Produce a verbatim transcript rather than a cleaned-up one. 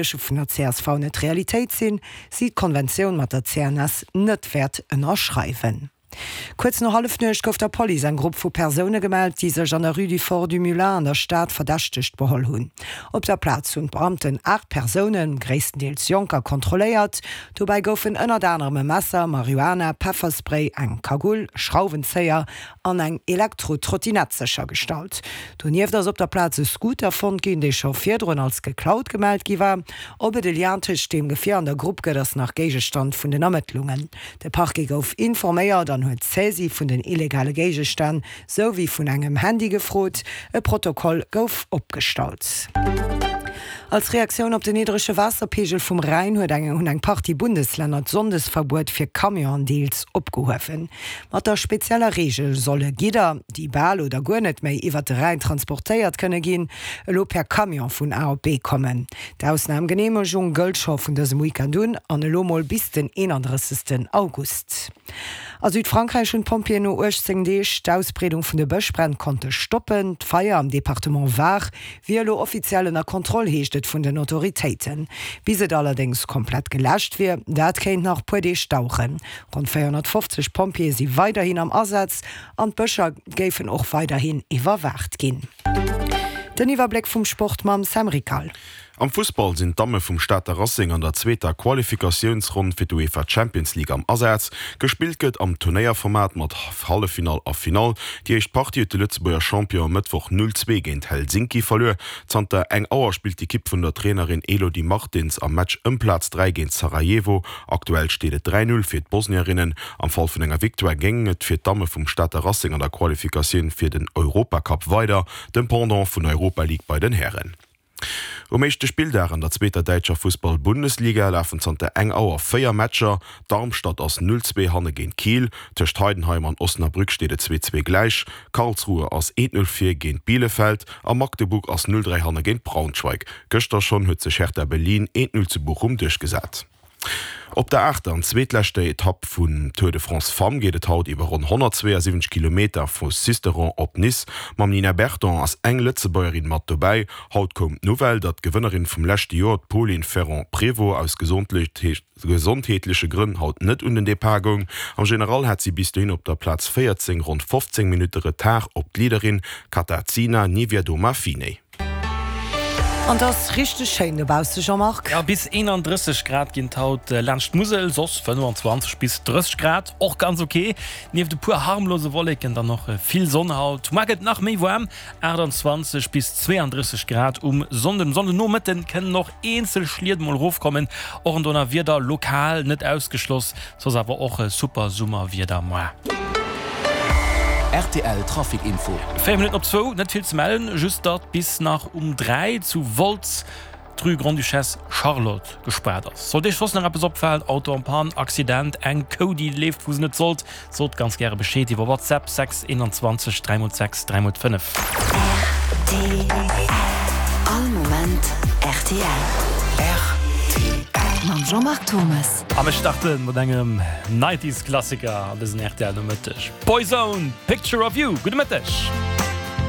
vun der csv net Realitéit sinn, si d'Konventioun mat der CNS net wäert ënnerschreiwen. Kuerz no Hallefnuecht gouf der Police eng Grupp vu Persoune gemellt, déi sech an der Rue du Fort du Moulin an der Stad verdächtegt beholl hunn. Op der Plaz hunn d'Beamten aacht Persounen, gréisstendeels Jonker, kontrolléiert. Dobäi goufen ënnert anerem e Messer, Marihuana, Pefferspray, eng Kagull, Schrauwenzéier an eng Elektro-Trottinett séchergestallt. Donieft ass op der Plaz e Scooter fonnt ginn, dee scho virdrun als geklaut gemellt gi war. Ob et e Lien tëscht deem Gefier an der Grupp gëtt, ass nach Géigestand vun den Ermëttlungen. De Parquet gouf informéiert an huet d'Saisie vun den illegale Géigestänn sou wéi vun engem Handy gefrot. E Protokoll gouf opgestallt. Als Reaktioun op den niddrege Waasserpeegel vum Rhäin huet eng hunn eng Partie Bundeslänner d'Sonndesverbuet fir Camionen deels opgehuewen. Mat der spezieller Reegel solle Gidder, déi bal oder guer net méi iwwert de Rhäin transportéiert kënne ginn, elo per Camion vun A op B kommen. D'Ausnamgeneemegung gëllt scho vun dësem Weekend un an elo mol bis den eenandrëssegsten August. A Südfrankräich hunn d'Pompjeeën no uechtzéng Deeg d'Ausbreedung vun de Bëschbränn konnte stoppen. D'Feier am Departement Var wier elo offiziell ënner Kontroll, heescht et vun den Autoritéiten. Bis et allerdéngs komplett geläscht wier, dat kéint nach puer Deeg daueren. Ronn véierhonnertfofzeg Pompjeeë si weiderhin am Asaz an d'Bëscher géifen och weiderhin iwwerwaacht ginn. Den Iwwerbléck vum Sport mam Sam Rickal. Am Fussball sinn d'Damme vum Stater Racing an der zweeter Qualifikatiounsronn fir d'UEFA Champions League am Asaz. Gespillt gëtt am Turnéierformat mat Halleffinall a Finall. Déi éischt Partie huet de Lëtzebuerger Champion e Mëttwoch null zwee géint Helsinki verluer. Zanter eng Auer spillt d'Ekipp vun der Trainerin Elodie Martins am Match ëm Plaz dräi géint Sarajevo. Aktuell steet et dräi null fir d'Bosnierinnen. Am Fall vun enger Victoire géing et fir d'Damme vum Stater Racing an der Qualifikatioun fir den Europacup weider, dem Pendant vun der Europa League bei den Hären. Um éischte Spilldag an der zweeter däitscher Fussball-Bundesliga lafen zanter eng Auer véier Matcher. Darmstadt ass null zwee hanne géint Kiel, tëscht Heidenheim an Osnabrück steet et zwee zwee gläich, Karlsruhe ass eent null vir géint Bielefeld a Magdeburg ass null dräi hanne géint Braunschweig. Gëschter schonn huet sech Hertha Berlin eent null zu Bochum duerchgesat. Op der aachter an zweetleschter Etapp vum Tour de France Femmes geet et haut iwwer ronn honnertzweeasiwwenzeg Kilometer vu Sisteron op Nice. Mam Nina Berton ass eng Lëtzebuergerin mat dobäi. Haut koum d'Nouvelle, datt d'Gewënnerin vum leschte Joer, d'Polin Ferrand-Prévot, aus gesondheetleche Grënn haut net un den Depart goung. Am General hat si bis dohin op der Plaz véierzéng ronn fofzéng Minutte Retard op d'Leaderin Katarzyna Niewiadoma-Finney. An 't ass richteg schéin dobausse, Jean-Marc. Jo, bis eenandrësseg Grad ginn et haut laanscht d'Musel, soss fënnefenzwanzeg bis drësseg Grad, och ganz ok. Nieft e puer harmlose Wolleken dann och vill Sonn haut. Muar gëtt et nach méi waarm, aachtanzwanzeg bis zweeandrësseg Grad um Sonnden. Um Sonndenomëtten kënnen och eenzel Schliet mol erofkommen, och en Donnerwieder lokal net ausgeschloss. Soss awer och super Summerwieder muar. Rtl Trafic Info. Véier Minutten op zwou, net vill ze mellen, just datt bis nach um dräi zu Wolz d'Rue Grande-Duchesse Charlotte gespaart ass. Sollt Iech soss nach eppes opfalen, Auto en panne, Accident, eng Kou déi leeft wou se net sollt, sot ganz gäre Bescheed iwwer WhatsApp sechs eenanzwanzeg dräi mol sechs dräi mol fënnef. Rtl All Moment rtl. Rtl. Mam Jean-Marc Thomas. A mir starte mat engem Nineties Klassiker an dësen rtl Nomëtteg, Boyzone, Picture of You. Gudde Mëtteg.